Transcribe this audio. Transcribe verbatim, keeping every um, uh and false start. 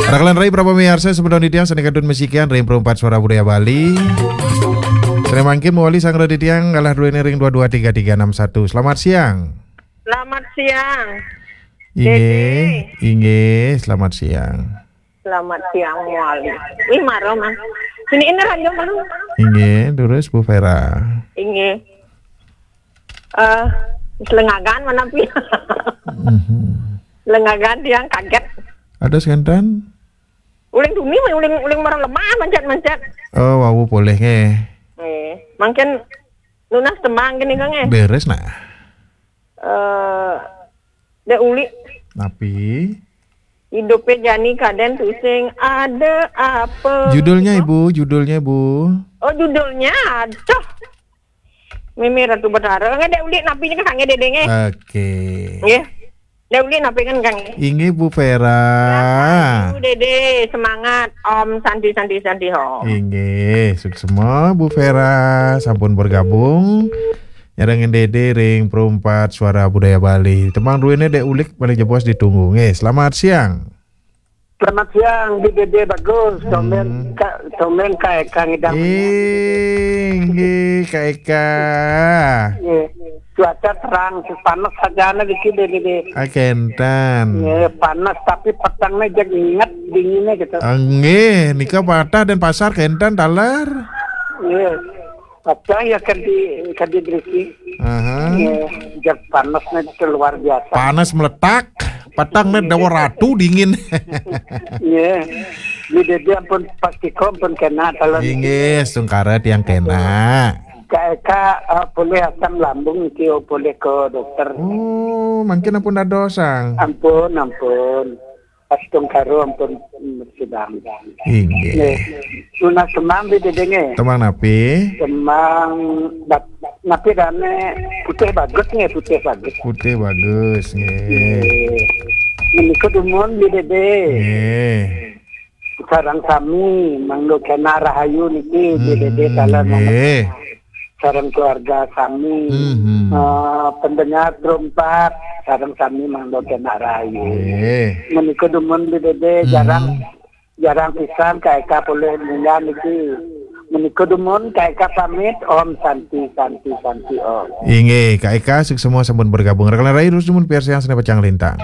Raka lan rai para pamiarsa, sampun titiang sané kantun masikian ring Perumpat Suara Budaya Bali. Sané mangkin mawali sanggra titiang galah duéné ring dua dua tiga tiga enam satu. Selamat siang. Selamat siang. Inggih, Dédé. Inggih, selamat siang. Selamat siang, Wali. Wih, maro, Mang. Sini ini ranjang, Mang. Inggih, terus Bu Vera. Inggih. Eh, selengagan mana pi? Mhm. Lengagan tiang kaget. Ada sekantan? Uling tuni, uling, uling marang lemah, mancet-mancet. Oh, wau polih nggih. Eh, mangkin nunas tembang gini, Kang, eh. Beres, nah. Eh, Dék Uli. Napi? Hidupé jani kadén tusing ada apa. Judulnya, Ibu, judulnya, Bu. Oh, judulnya. Aduh. Mimi Ratu Betara. Nggih, Dék Uli napi nika, Kang, Dédé nggih. Oke. Nggih. Dék Uli napi kan, Kang? Inggih, Bu Vera. Ibu Dédé, semangat. Om Santi, Santi, Santi, Om. Inggih, suksma Bu Vera sampun bergabung. Nyarengin Dédé ring Perumpat Suara Budaya Bali. Tembang duéné Dék Uli paling jebos ditunggu. Nggih, selamat siang. Selamat siang, Bi Dédé. Bagus. Tumben, hmm. Kak, tumben Kak Eka ngidang. Inggih, Kak Eka. Nggih. Cuaca terang, panas saja nih dikit, Bi Dédé. Ah, kénten. Nggih, panas, tapi petengnya jeg inget dinginnya gitu. Ah, nggih, nika patah Dénpasar kénten taler. Nggih. Apa ya, kadi, kadi berisi. Aha. Nggih, jeg panasnya itu luar biasa. Panas meletak, petengnya Déwa Ratu dingin. Nggih. Bi Dédé ampun pasti ampun kena taler. Inggih, sungkara tiang kena. Kak Eka, eh, polih asam lambung iki, oh, polih ke dokter. Oh, mangkin ampun dados, Sang. Ampun, ampun. Pas tungkara ampun, mm, sidang. Inggih. Nggih. Nunas tembang Bi Dédé nggih. Tembang napi? Tembang bat-, napi dané Putih Bagus nggih, Putih Bagus. Putih Bagus nggih. Nggih. Menika dumun Bi Dédé. Nggih. Sareng sami mangda kena rahayu niki, hmm, Bi Dédé taler mangda. Nggih. Sareng keluarga sami. Hmm, hmm. Eh, pendengar Perumpat, sareng sami mangda kena rahayu. Nggih. Menika dumun Bi Dédé, hmm, jarang, jarang pisan Kak Eka polih munggah niki. Menika dumun Kak Eka pamit, Om Santi, Santi, Santi, Om. Inggih, Kak Eka suksma sampun bergabung. Raka lan rai terus dumun piarsayang sané pacang lintang.